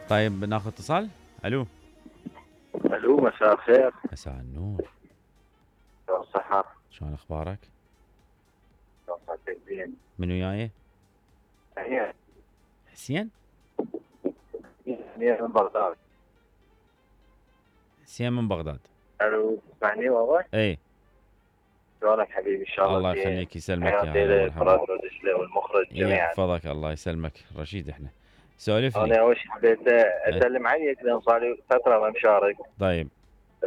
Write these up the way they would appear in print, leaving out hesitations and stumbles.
طيب ناخذ اتصال. الو. الو، مساء الخير. مساء النور. شلون الصحة؟ شلون اخبارك؟ شلون صحتك؟ زين. من وياي؟ هي حسين؟ من بغداد. حسين من بغداد. الو، تسمعني بابا؟ اي. شلونك حبيبي؟ ان شاء الله الله زين. يخليك يسلمك يا حياتي هلا لك مرحبا. وراد ودشلة والمخرج جميعا. يحفظك الله يسلمك. رشيد احنا. سولف لي. انا اول شيء حبيت اسلم عليك لان صار لي فترة ما مشارك. طيب.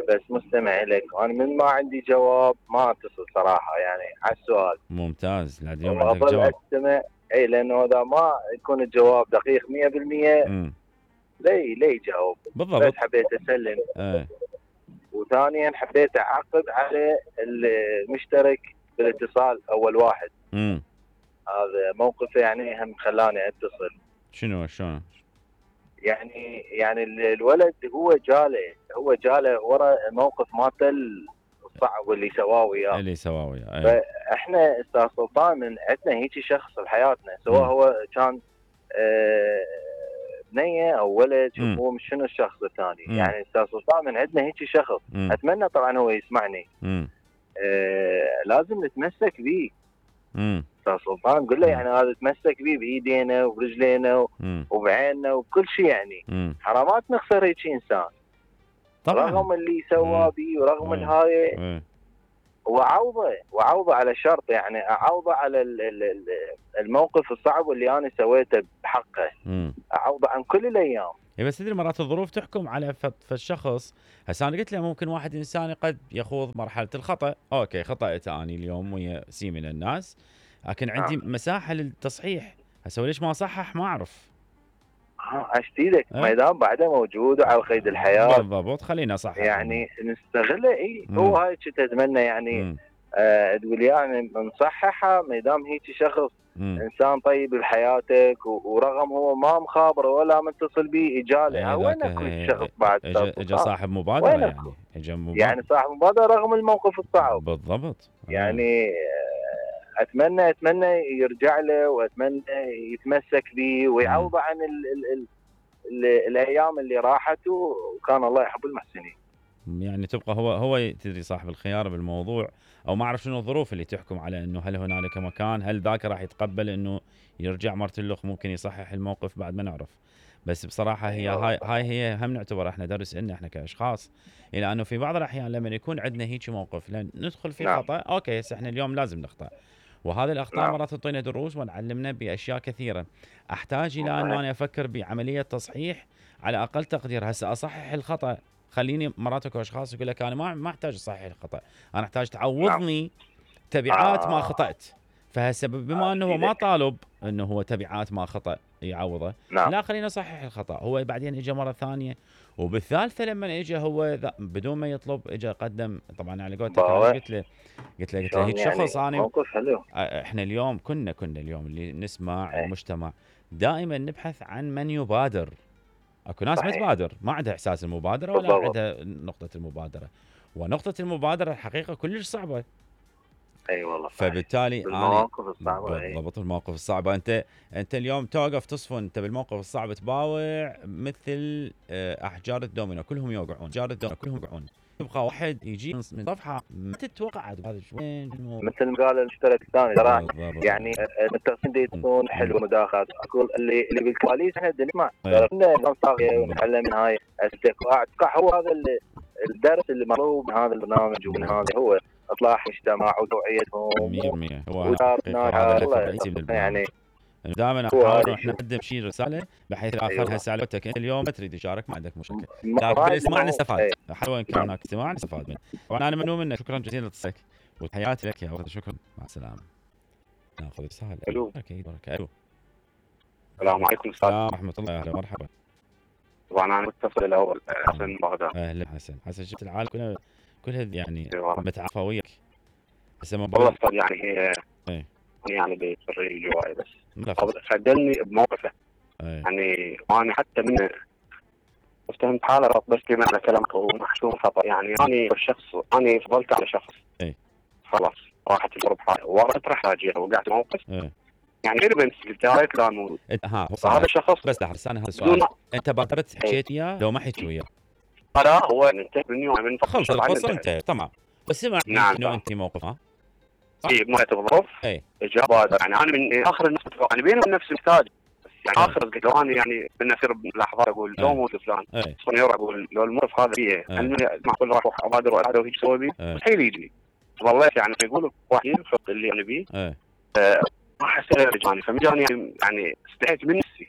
بس مستمع لك، انا من ما عندي جواب ما اتصل صراحة يعني على السؤال. ممتاز. لحد اليوم عندك وأظل جواب. استمع. اي لانه اذا ما يكون الجواب دقيق 100% ليه يجاوب. بالضبط. بس حبيت اسلم. وثانيا حبيت اعقب على المشترك بالاتصال اول واحد. هذا موقف يعني هم خلاني اتصل. شنو شلون؟ يعني الولد هو جاله ورا موقف مالته الصعب اللي سواه وياه. فاحنا استاذ سلطان من عندنا هيك شخص بحياتنا، سواء هو كان بنيه او ولد، هو مش شنو الشخص الثاني. يعني استاذ سلطان من عندنا هيك شخص. اتمنى طبعا هو يسمعني. لازم نتمسك به. استاذ سلطان قل له يعني هذا تمسك به بايدينا وبرجلينا وبعيننا وبكل شيء يعني. حرامات نخسر هيك انسان طبعا. رغم اللي سواه به ورغم الهاي وعوضه على شرط، يعني اعوضه على الموقف الصعب اللي انا سويته بحقه. اعوضه عن كل الايام. بس تدري مرات الظروف تحكم على فالشخص. هسه انا قلت له ممكن واحد انساني قد يخوض مرحله الخطا. اوكي خطأت اني اليوم ويا سي من الناس، لكن عندي مساحه للتصحيح. هسه ليش ما اصحح ما اعرف. اشتيلك ما دام بعده موجود وعلى قيد الحياه. بالضبط. خلينا اصحح يعني نستغله. هو هاي كنت اتمنى يعني. تقول يعني نصححها ما دام هيك شخص انسان طيب بحياتك ورغم هو ما مخابر ولا متصل به اجاله. وين اكو شخص بعد اجى صاحب مبادره يعني صاحب مبادره رغم الموقف الصعب. بالضبط. يعني اتمنى يرجع له واتمنى يتمسك به ويعوض عن الايام اللي راحت. وكان الله يحب المحسنين. يعني تبقى هو تدري صاحب الخيار بالموضوع، او ما اعرف شنو الظروف اللي تحكم على انه هل هنالك مكان، هل ذاك راح يتقبل انه يرجع مرتلخ ممكن يصحح الموقف بعد ما نعرف. بس بصراحه هاي هي هم نعتبر احنا درس لنا احنا كاشخاص، الى انه في بعض الاحيان لما يكون عندنا هيك موقف لان ندخل في خطا. اوكي هسه احنا اليوم لازم نخطأ، وهذه الاخطاء مرات تعطينا دروس ونعلمنا باشياء كثيره. احتاج الى انه انا افكر بعمليه تصحيح على اقل تقدير. هسه اصحح الخطا، خليني مرات اكو اشخاص يقول لك انا ما احتاج اصحح الخطا، انا احتاج تعوضني تبعات ما خطأت. فهسه بما انه هو ما طالب انه هو تبعات ما خطأ يعوضه، لا خلينا نصحح الخطا. هو بعدين اجى مره ثانيه وبالثالثه لما اجى هو بدون ما يطلب اجى قدم. طبعا على قولتك قلت له هيك شخص انا موقف حلو. احنا اليوم كنا اليوم اللي نسمع المجتمع دائما نبحث عن من يبادر. اكو ناس ما تبادر، ما عندها احساس المبادره ولا عندها نقطه المبادره، ونقطه المبادره الحقيقه كلش صعبه. اي والله. فبالتالي المواقف الصعبه. بالضبط المواقف الصعبه. انت اليوم توقف تصفن، انت بالموقف الصعب تباوع مثل احجار الدومينو كلهم يوقعون. يبقى واحد يجي من صفحه ما تتوقع هذا وين مثل ما قال المشترك الثاني ترى يعني التصميم يكون حلو مداخلات. اقول اللي بالكواليس احنا نسمع كنا صاغيه ونتعلم من هاي اتوقع هو هذا الدرس اللي مطلوب من هذا البرنامج ومن هذا هو اصلاح مجتمع وتوعيتهم 100%. هو هذا يعني دائما نحاول احنا نقدم شيء رساله بحيث الاخر. هسه على وقتك انت اليوم تريد تشارك ما عندك مشكله، لكن بالاسماع نستفاد. حلو ان كان هناك استماع نستفاد منه. وانا ممنون منك، شكرا جزيلا لاتصالك وتحياتي لك يا ولد. شكرا، مع السلامه. ناخذ رساله. الو. اكيد. الو. السلام عليكم استاذ. ورحمه الله. اهلا مرحبا. طبعا انا متصل الاول حسن من بغداد. اهلا حسن. شفت العالم كلها يعني متعافى وياك. هسه والله يعني هي يعني بيصير جواي بس خدلني بموقفه. يعني انا حتى من افتهمت حاله بس كمان كلامك ومحسوم خطا. يعني انا فضلت على شخص خلاص راحت الظروف ورحت راجع وقعت موقف يعني غير بنت الدايركت كان موجود. ها هذا الشخص بس لحظه انا هذا السؤال، انت بادرت حكيت وياه لو ما حكيت وياه؟ لا هو انتهى مني من خلص القصه انتهت تمام. بس سمع نعم انه انت موقفها اي ما تظرف اجابه. يعني انا من اخر الناس يعني بيني وبين نفسي محتاج يعني اخر قلت له انا يعني من اصير لحظات اقول لو موت فلان صنيور اقول لو الموقف هذا فيه هل معقول راح ابادر واعاده وهيك اسوي بيه؟ مستحيل يجي. ظليت يعني يقولوا واحد ينفق اللي انا بيه ما حسيت رجعني فمجاني يعني استحيت من نفسي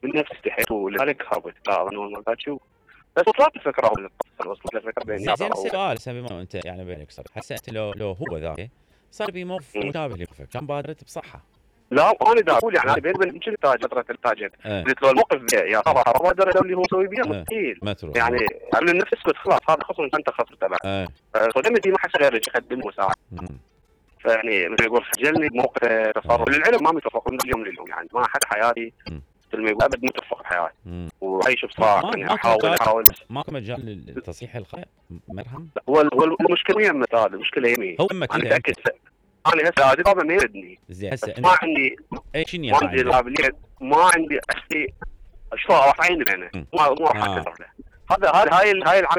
من نفسي استحيت ولذلك هربت لا اظن ما شو بس وصلت الفكره وصلت الفكره بيني زين السؤال بما انت يعني بينك صار حسيت لو هو ذاك صار بي موقف مشابه لموقفك كان بادرت بصحه؟ لا انا دا اقول يعني انا بيني وبين يمكن فتره التاجر قلت له الموقف يا طبعا ما ادري اللي هو مسوي بيه مستحيل يعني قبل النفس اسكت خلاص هذا خصم انت خسرت تبع صدمتي ما حس غير يقدم مساعده فيعني مثل يقول خجلني بموقف تصرف للعلم ما متفقون اليوم لليوم يعني ما حد حياتي مثل ما يقول ابد متفق بحياتي وعيش بصراحه يعني احاول ماكو مجال لتصحيح الخير مرهم. هو المشكله يمه هذا المشكله يمي هو انا متاكد انا هسه هذه طبعا ما يردني زين هسه ما عندي شنو ما عندي القابليه ما عندي اشياء شو راح عيني انا ما راح اكثر له هذا هاي العمل